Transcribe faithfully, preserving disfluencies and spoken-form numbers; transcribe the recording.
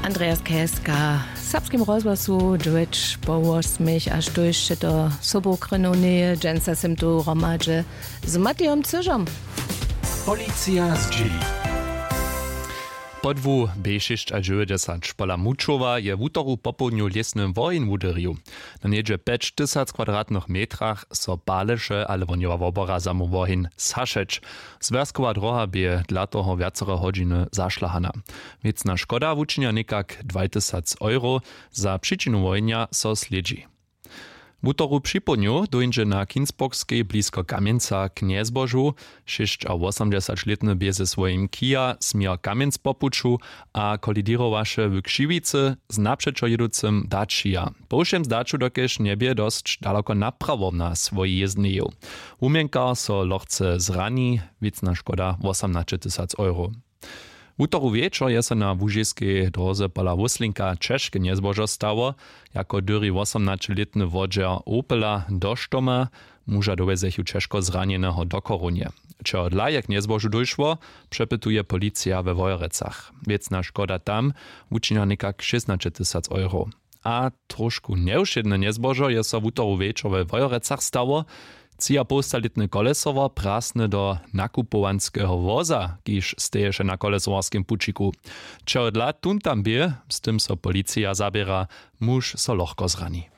Andreas Keska w serbskim rozhlasu dźewjeć po wosmich a štójsće to sobokrynowneje dźensa sym tu hromadźe z Matijom Cyžom. Policija zdźěli. Podłu b šěsć a dźewjećdźesat pola mučowa je wutoru popołdnju lěsny woheń wuderju. Na něhdźe pjećtysac kwadratnych metrach so paleše ale wohnjowa wobora zamu woheń sašeć. Zwjazkowa droha bě dla toho wjacere hodźiny zašlahana. Wěcna škoda wučinja někak dwajtysac euro. Za přičinu wohenja so slědźi. Wutoru připołdnju dóńdźe na kinsburgskej blisko kamjenca k njezbožu. Šěsćawosomdźesaćlětny bě ze swojim kia směr kamjenc po puću a kolidirowaše w křiwicy z napřećo jěducym daćija. Po wšěm zdaću dokelž njebě dosć daloko naprawo na swojej jězdnjeju. Wumjenkar so lochce zrani. Wěcna škoda wosomnaćetysac euro. Wutoru wječor je so na łužiskej dróze pola wóslinka ćežke njezbožo stało. Jako dyri wosomnaćelětny wodźer opela do štoma. Muža dowjezechu ćežko zranjeneho do chorownje. Čehodla je k njezbožu dóšło, přepytuje policija we wojerecach. Wěcna škoda tam wučinja někak šěstnaćetysac euro. A trošku njewšědne njezbožo je so wutoru wječor we wojerecach stało. Třiapołstalětny kolesowar prasny do nakupowanskeho woza kiž steješe na kolesowarskim pućiku. Čehodla tón tam bě, z tym so policija zaběra. Muž so lochko zrani.